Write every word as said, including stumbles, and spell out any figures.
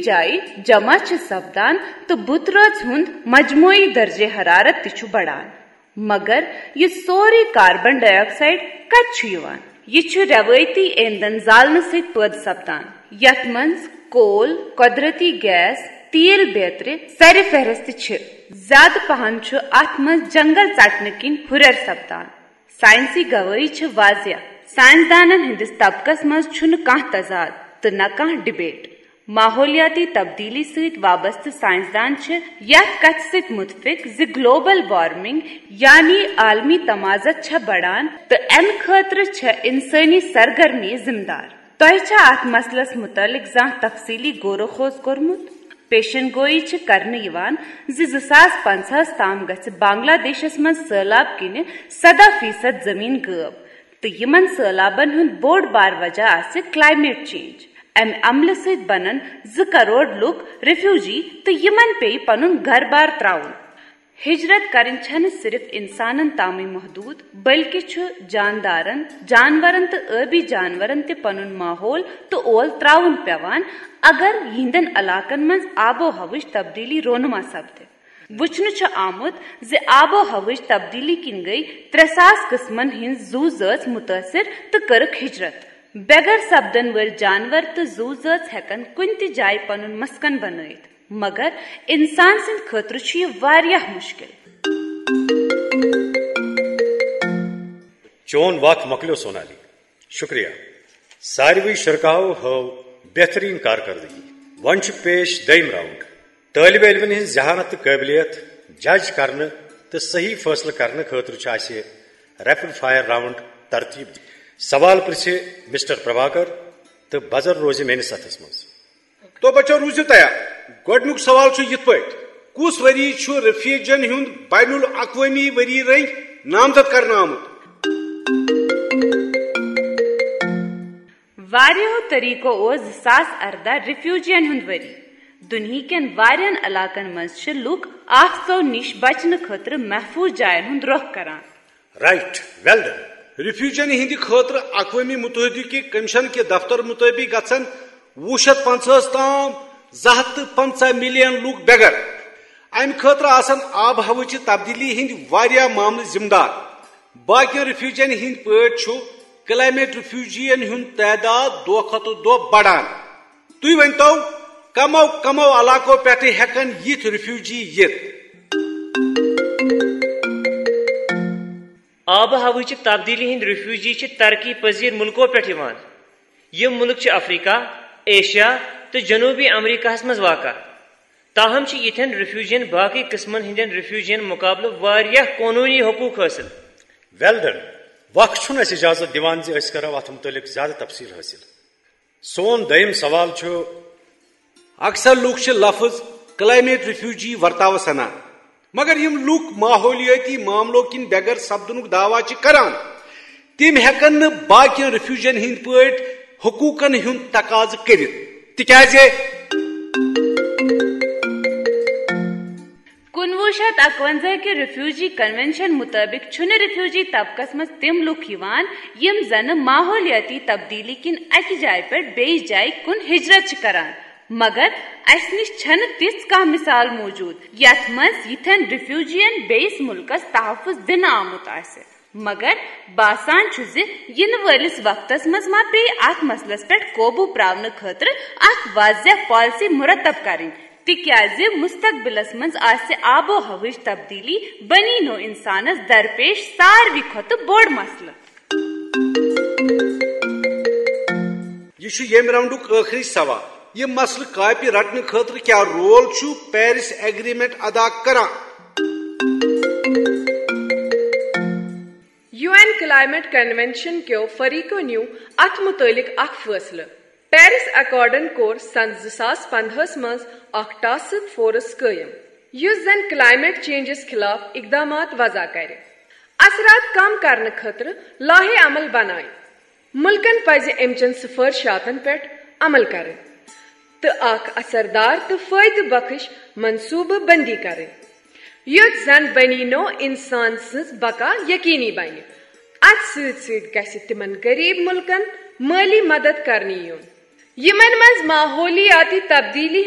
جایہِ جمع چھِ سپدان تہٕ بُترٲژ ہُنٛد مجموعی درجہ حرارت تہِ چھُ بڑان۔ مگر یہِ سورُے کاربن ڈائی آکسائیڈ کتہِ چھُ یِوان؟ یہِ چھُ روایتی ایندھن زالنہٕ سۭتۍ پٲدٕ سپدان، یتھ منٛز کول، قۄدرتی گیس، تیل بیترِ سرِ فہرست چھِ۔ زیادٕ پہن چھُ اتھ منٛز جنگل ژٹنہٕ کِنۍ ہُرٮ۪ر سپدان۔ ساینسی گوٲہی چھِ واضح۔ ساینسدانن ہٕنٛدِس طبقس منٛز چھُنہٕ کانٛہہ تضاد تہٕ نہ کانٛہہ ڈبیٹ۔ ماحولیاتی تبدیلی سۭتۍ وابستہٕ ساینسدان چھِ یتھ کتھِ سۭتۍ متفق زِ گلوبل وارمنگ یعنی عالمی تمازت چھےٚ بڑان تہٕ امہِ خٲطرٕ چھےٚ انسٲنی سرگرمی ذمہٕ دار۔ تۄہہِ چھا اتھ مسلس متعلق زانٛہہ تفصیلی غور و خوض کوٚرمُت؟ پیشن گوئی چھِ کرنہٕ یِوان زِ زٕ ساس پنٛژاہس تام گژھِ بنگلہ دیشس منٛز سٔہلاب کِنہِ سداہ فیصد زمین غٲب، تہٕ یِمن سٔہلابن ہُنٛد بوٚڑ بار وجہ آسہِ کلائمیٹ چینج۔ امہِ عملہٕ سۭتۍ بنن زٕ کرور لوٗکھ ریفیوجی تہٕ یِمن پیٚیہِ پنُن گرٕ بار ترٛاوُن۔ ہجرت کرٕنۍ چھنہٕ صرف انسانن تامٕے محدود، بلکہ چھُ جاندارن، جانورن تہٕ ٲبی جانورن تہِ پنُن ماحول تہٕ اول ترٛاوُن پیوان، اگر یِہنٛدٮ۪ن علاقن منٛز آب و ہوٕچ تبدیلی رونما سپدِ۔ وُچھنہٕ چھُ آمُت زِ آب و ہوٕچ تبدیلی کِنۍ گٔیہِ ترٛےٚ ساس قٕسمن ہٕنٛز زُو زٲژ مُتٲثِر تہٕ کٔرٕکھ ہجرت۔ بے گھر سپدن وٲلۍ جانور تہٕ زُو زٲژ ہٮ۪کن کُنہِ تہِ جایہِ پنُن مسکن بنٲوِتھ، مگر انسان سٕنٛدِ خٲطرٕ چھُ یہِ واریاہ مُشکِل۔ چون وق مۄکلیو سونالی۔ شکریہ۔ ساروٕے شرکاہو ہٲو بہترین کارکردگی۔ وۄنۍ چھُ پیش دوٚیِم راؤنڈ۔ طٲلبہِ علمن ہٕنٛز ذہانت تہٕ قٲبلیت جج کرنہٕ تہٕ صحیح فٲصلہٕ کرنہٕ خٲطرٕ چھُ اسہِ ریپڈ فائر راؤنڈ ترتیب دِنہٕ۔ سوال پرژھِ مسٹر پربھاکر تہٕ بزر روزِ میٲنِس اتھس منٛز۔ تو بچو، روٗزِو تیار۔ گۄڈٕنیُک سوال چھُ یِتھ پٲٹھۍ، کُس ؤری چھُ ریفیوجین ہُنٛد بین الاقوٲمی ؤری رٔنگۍ نامزد کرنہٕ آمُت؟ واریاہو طریقو اوس زٕ ساس ارداہ ریفیوجین ہُنٛد ؤری۔ دُنہیٖکٮ۪ن واریاہن علاقن منٛز چھِ لوٗکھ آفژو نِش بچنہٕ خٲطرٕ محفوٗظ جاین ہُنٛد رۄخ کران۔ رائٹ، ویل ڈن۔ ریفیوجین ہٕنٛدِ خٲطرٕ اقوام متحدہ کہِ کمیشن کہِ دفتر مطٲبق گژھن وُہ شیٚتھ پنٛژاہس تام زٕ ہتھ تہٕ پنٛژاہ ملین لوٗکھ بے گھر۔ امہِ خٲطرٕ آسن آب و ہوہٕچہِ تبدیلی ہٕنٛدۍ واریاہ معاملہٕ ذمہٕ دار۔ باقین ریفیوجین ہٕنٛدۍ پٲٹھۍ چھُ کلائمیٹ ریفیوجین ہُنٛد تعداد دۄہ کھۄتہٕ دۄہ بڑان۔ تُہۍ ؤنۍ تو، کمو کمو علاقو پٮ۪ٹھٕ ہٮ۪کن یِتھۍ ریفیوجی یِتھ؟ آب و ہوہٕچہِ تبدیلی ہٕنٛدۍ ریفیوجی چھِ ترقی پذیر مُلکو پٮ۪ٹھ یِوان۔ یِم مُلک چھِ افریقہ، ایشیا تہٕ جنوبی امریکہس منٛز واقع۔ تاہم چھِ یِتھٮ۪ن ریفیوجین باقٕے قٕسمن ہٕنٛدٮ۪ن ریفیوجین مُقابلہٕ واریاہ قونوٗنی حقوٗق حٲصِل۔ ویل ڈن۔ وق چھُنہٕ اَسہِ اجازت دِوان زِ أسۍ کرو اتھ مُتعلق زیادٕ تفصیل حٲصِل۔ سون دوٚیِم سوال چھُ۔ اکثر لوٗکھ چھِ لفظ کلائمیٹ ریفیوجی ورتاوس انان، مگر یِم لوٗکھ ماحولیٲتی معاملو کِنۍ بے گھر سپدنُک دعویٰ چھِ کران، تِم ہٮ۪کن نہٕ باقین ریفیوجین ہٕنٛدۍ پٲٹھۍ حقوٗقن ہُنٛد تقاضہٕ کٔرِتھ، تِکیازِ۔ کُنوُہ شیٚتھ اکونزہ کہِ ریفیوجی کنونشن مُطٲبِق چھُنہٕ ریفیوجی طبقس منٛز تِم لوٗکھ یِوان، یِم زَنہٕ ماحولیٲتی تبدیلی کِنۍ اَکہِ جایہِ پٮ۪ٹھ بیٚیِس جایہِ کُن ہجرت چھِ کران۔ مگر اَسہِ نِش چھَنہٕ تِژھ کانٛہہ مثال موجود، یَتھ منٛز یِتھٮ۪ن ریفیوجین بیٚیِس مُلکَس تحفظ دِنہٕ آمُت آسہِ۔ مگر باسان چھُ زِ یِنہٕ وٲلِس وقتس منٛز ما پیٚیہِ اتھ مسلس پٮ۪ٹھ قوبوٗ پراونہٕ خٲطرٕ اکھ واضح پالیسی مرتب کرٕنۍ، تِکیازِ مستقبلس منٛز آسہِ آب و ہوہٕچ تبدیلی بنی نوع انسانس درپیش ساروی کھۄتہٕ بوٚڑ مسلہٕ۔ یہِ چھُ ییٚمہِ راؤنڈُک ٲخری سوال۔ یہِ مسلہٕ کاپہِ رٹنہٕ خٲطرٕ کیٛاہ رول چھُ پیرس ایگریمنٹ ادا کران؟ یو این کلائمیٹ کنونشن کیو فریقو نیو اتھ متعلق اکھ فٲصلہٕ۔ پیرس ایکارڈن کوٚر سنہٕ زٕ ساس پندہس منٛز اکھ ٹاسک فورس قٲیم، یُس زن کلائمیٹ چینجس خلاف اقدامات وضع کرِ، اثرات کم کرنہٕ خٲطرٕ لائحہ عمل بنایہِ۔ مُلکن پزِ امہِ چٮ۪ن سفٲرشاتن پٮ۪ٹھ عمل کرٕنۍ تہٕ اکھ اثردار تہٕ فٲیدٕ بخش منصوبہٕ بندی کرٕنۍ، یُتھ زن بنی نوع انسان سٕنٛز بقا یقینی بنہِ۔ اتھ سۭتۍ سۭتۍ گژھِ تِمن غریب مُلکن مٲلی مدد کرنہٕ یُن، یِمن منٛز ماحولیاتی تبدیلی